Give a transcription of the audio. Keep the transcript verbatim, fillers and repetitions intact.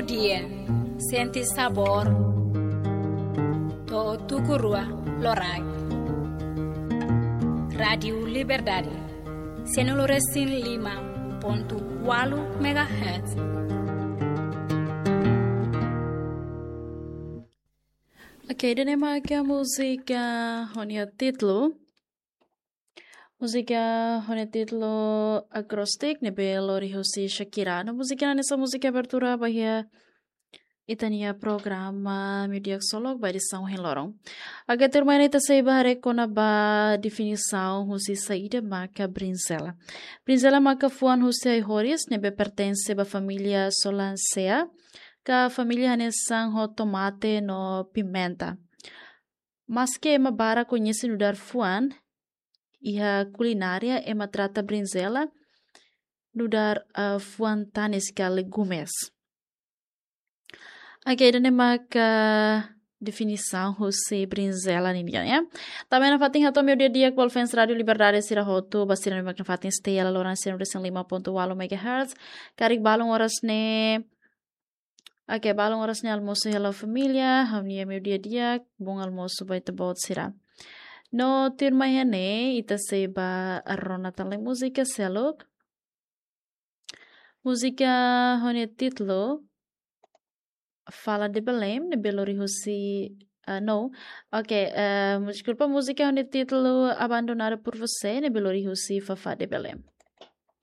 Dia, sente sabór. To'o tuku rua loraik. Rádiu Liberdade, sianulu resin lima pontu ualu megahertz. Oke, ida-ne'e maka múzika ho nia títulu. Múzika ho nia títulu Acrostic, ne'ebé lori husi Shakira. No múzika ne'e hanesan múzika abertura ba iha ita-nia programa Meudia Ksolok ba edisaun ohin loron. Agora tuirmai ne'e ita sei bá haree kona-ba definisaun husi saida maka brinzela. Brinzela maka fuan husi ai-horis, ne'ebé pertense ba família Solanaceae, ka família hanesan ho tomate no pimenta. Maske ema barak koñese nu'udar fuan, iha kulinária ema trata brinzela nu'udar, ah, fuan tanis ka legumes. Oke, ida-ne'e maka definisaun husi brinzela ninian, ya. Tanba ne'e nafatin hato'o meudia di'ak ba fans Rádiu Liberdade sira hotu, ba sira ne'ebé mak nafatin stay hela loron sianulu resin lima pontu ualu megahertz. Karik balun oras ne'e, oke, balun oras ne'e almosu hela ho família, ha'u-nia meudia di'ak, bom almoço ba ita-boot sira. No tuirmai iha ne'e, ita sei bá rona tan lai múzika seluk. Múzika ho nia títulu Fala de Belém, ne'ebé lori husi, ah, no. Oke, eh, deskulpa, múzika ho nia títulu Abandonada por Você, ne'ebé lori husi Fafá de Belém.